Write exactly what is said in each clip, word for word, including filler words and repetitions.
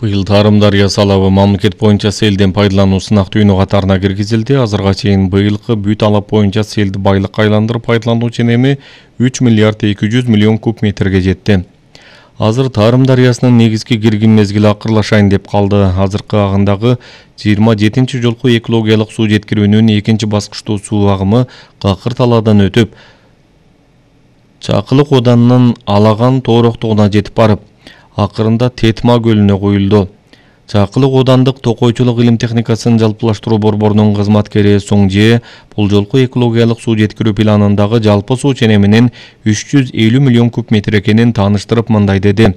Быйыл Тарым дарыясы алабы мамлекет боюнча селден пайдалануу сынак түйүнү катарына киргизилди. Азырга чейин быйылкы бүт алап боюнча селди байлыкка айландырып пайдалануу ченеми үч миллиард эки жүз миллион куб метрге жетти. Азыр Тарым дарыясынын негизги киргин мезгили акырлашайын деп калды. Азыркы агындагы жыйырма жетинчи жолку экологиялык суу жеткирүүнүн экинчи баскычтуу суу агымы Какыр талаадан өтүп, Чакылык оданынын Алаган тоороктугуна жетип барып, акырында Тетма көлүнө куюлду. Чакылык одандык токойчулук илим техникасын жалпылаштыруу борборунун кызматкери Соңже бул жолку экологиялык суу жеткирүү планындагы жалпы суу ченеминин үч жүз элүү миллион куб метр экенин тааныштырып мындай деди.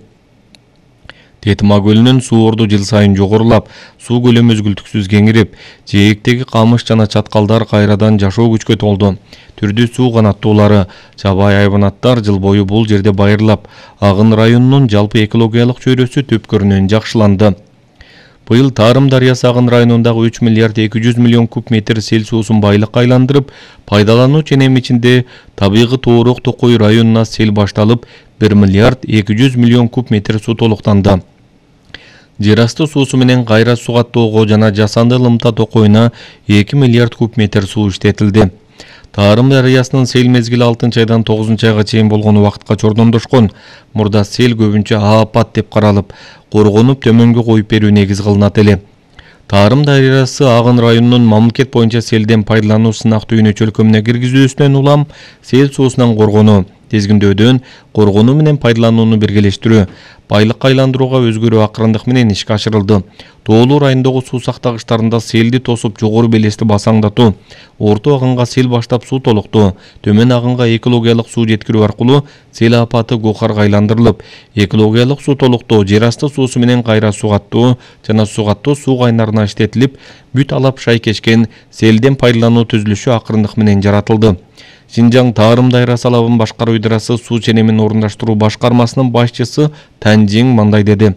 Тетма көлүнүн суу орду жыл сайын жогорулап, суу көлөмү үзгүлтүксүз кеңирип, жээктеги камыш жана чаткалдар кайрадан жашоо күчкө толду. Түрдүү суу канаттуулары, жабайы хайванаттар жыл бою бул жерде байырлап, Агын районунун жалпы экологиялык чөйрөсү түпкөрүнөн жакшыланды. Быйыл Тарым дарыясы Агын районундагы үч миллиард эки жүз миллион куб метр сел суусун байлыкка айландырып, пайдалануу ченеми ичинде табигый тоорок Токой районуна сел башталып, бир миллиард эки жүз миллион куб метр суу толуктанды. Жер асты суусу менен кайра сугаттоого жана жасанды Лымта Токойуна эки миллиард куб метр суу иштетилди. Тарым дарыясынын сел мезгили алтынчы айдан тогузунчу айга чейин болгон убакытка чордомдошкон. Мурда сел көбүнчө аапат деп каралып, коргонуп төмөнгө коюп берүү негиз кылынат эле. Тарым дарыясы Агын районунун мамлекет боюнча селден пайдалануу сынак түйүнү чөлкөмүнө киргизүүсүнөн улам сел суусунан коргонуу, тизгиндөөдөн коргонуу менен пайдаланууну биргелештирүү, байлыкка айландырууга өзгөрүү акырындык менен ишке ашырылды. Тоолуу райондогу суу сактагычтарында селди тосуп жогору белести басаңдатуу, орто агынга сел баштап суу толуктуу, төмөн агынга экологиялык суу жеткирүү аркылуу сел апаты Гохарга айландырылып, экологиялык суу толуктоо, жер асты суусу менен кайра сугаттоо жана сугаттоо суу кайнарына иштетилип, бүт алап шайкешкен селден пайдалануу түзүлүшү акырындык менен жаратылды. Шинжаң Тарым дарыясы алабын башкаруу идарасы суу ченемин орундаштыруу башкармасынын башчысы Танжиң мындай деди.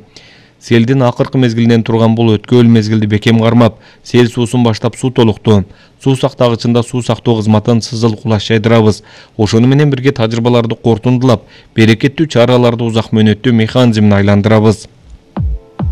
Селдин акыркы мезгилинен турган бул өткөл мезгилди бекем кармап, сел суусун баштап суу толукту. Суу сактагычында суу сактоо кызматын сызыл кулаш жайдырабыз. Ошону менен бирге тажрыйбаларды кортундулап, берекеттүү чараларды узак мөөнөттүү механизмин айландырабыз.